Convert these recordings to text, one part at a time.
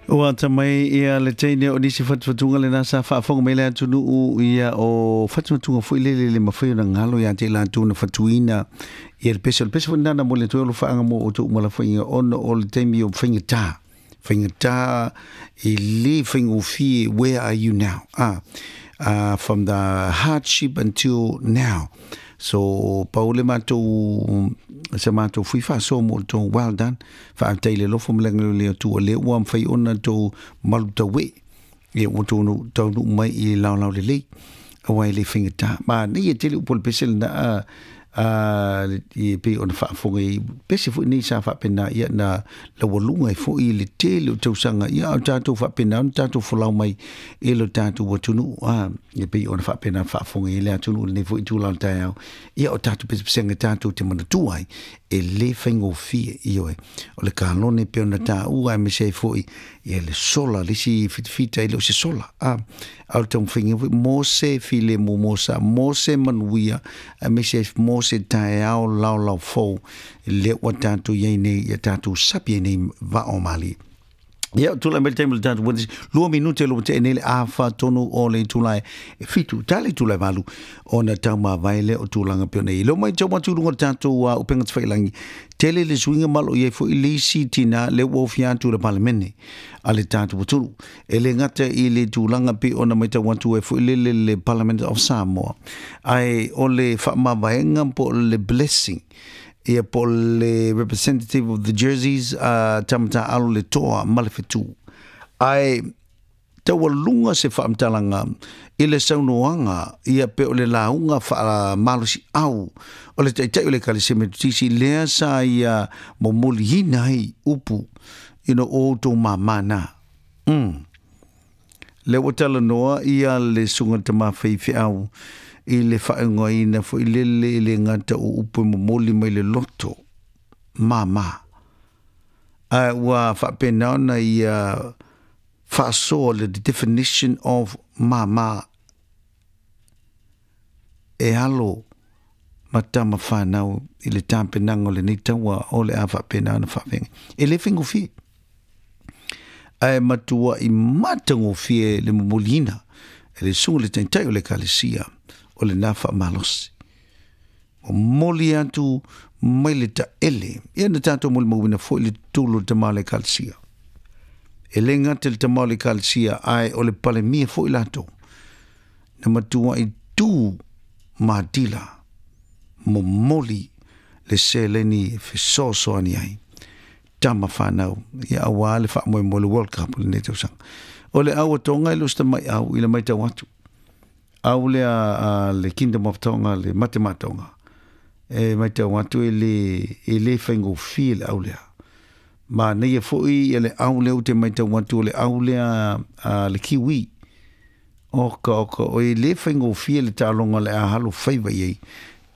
Ua atamai ia le teine o nisi fatufatuga lena sa faafofoga mai le atunuu ia o fatufatuga foi lele le mafai ona galo ia te i latou na fatuina ia le pese. O le pese foi lena na momoli atu ai o alofaaga mo outou uma lafoaiga ona o le taimi o faigata, faigata e le faigofie where are you now? Ah, from the hardship until now. So pau le matou sa matou fui faasoa mo outou well done. Faafetai i le alofa ma le agalelei o le Atua lea ua mafai ona outou malutaue ia ua outou taunuu mai i le laolao lelei aua e le faigata. Manaia tele upu o le pese lena a e pei ona faafofoga i pese foi nei sa faapena ia na laualuga ai foi le tele o tausaga ia a o tatou faapena ona tatou folau mai i lo tatou atunuu a e pei ona faapena faafofoga i le atunuu lenei foi itula o le taeao ia o tatou pesepesega tatou te manatua ai e le faigofie ioe o le kalone e pei ona taua aemaise ai foi ia le sola le isi fitafita e le o se sola a a o le taumafaiga foi mo se filemu mo sa mo se manuia aemaise ai mo se taeao laolao fou lea ua tatou i ai nei ia tatou sapi ai nei vaa o malie. Ia, tulai mai le taimi o le tatou witness. 2 minute lo te nei le afa tonu o le itula e 7, ta le itula e 8, ona taumavae lea o tulaga pei ona i ai. Leo mai tau atu i luga o le tatou upega tafailangi, tele le suiga ma o lo o i ai foi le isi tina lea ua ofia atu i le Palemene a le tatou atunuu. E le gata i le tulaga pei ona matau atu ai foi lele le Parliament of Samoa, ae o le faamavaega po o le blessing ia po o le representative of the jerseys a Tamataaalo le toa ma le fetu. Ae taualuga se faamatalaga i le saunoaga ia pe o le lauga faamalosiau o le taitai o le Ekalesia Metotisi lea sa ia momoliina ai upu ina o outou māmā na. Lea ua talanoa ia le susuga tama faifeau i le faaigoaina foi lele i le gata o upu e momoli mai le loto māmā. Ae ua faapena ona ia faasoa le definition of māmā e alo ma tama fanau i le tapenaga o lenei taua o le a faapena ona faafeagai. E le faigofie. Ae matuai matagofie le momoliina e le susuga i le taitai o le Ekalesia o lena faamalosi. Momoli atu mai le taele. Ia na tatou molimauina foi le tutulu o le tama o le Ekalesia. E le gata i le tama o le Ekalesia, ae o le Palemia foi latou. Na matuai tu matila momoli le seleni e fesoasoani ai tama fanau ia aua le faamoemoe le World Cup o lenei tausaga. O le au a Tonga e le o se tamaiau i le matau atu. Au lea a le Kingdom of Tonga le Matematoga e matau atu e le e le faigofie le au lea. Manaia foi ia le au lea ou te matau atu o le au lea a le Kiwi. Oka oka o e le faigofie le taaloga o le a halo faiva i ai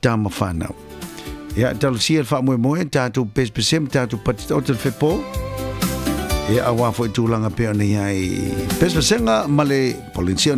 tama fanau. Ia talosia le faamoemoe tatou pesepese ma tatou patitaota le fepo. Ia aua foi tulaga pei ona i ai pesepesega ma le Polensia.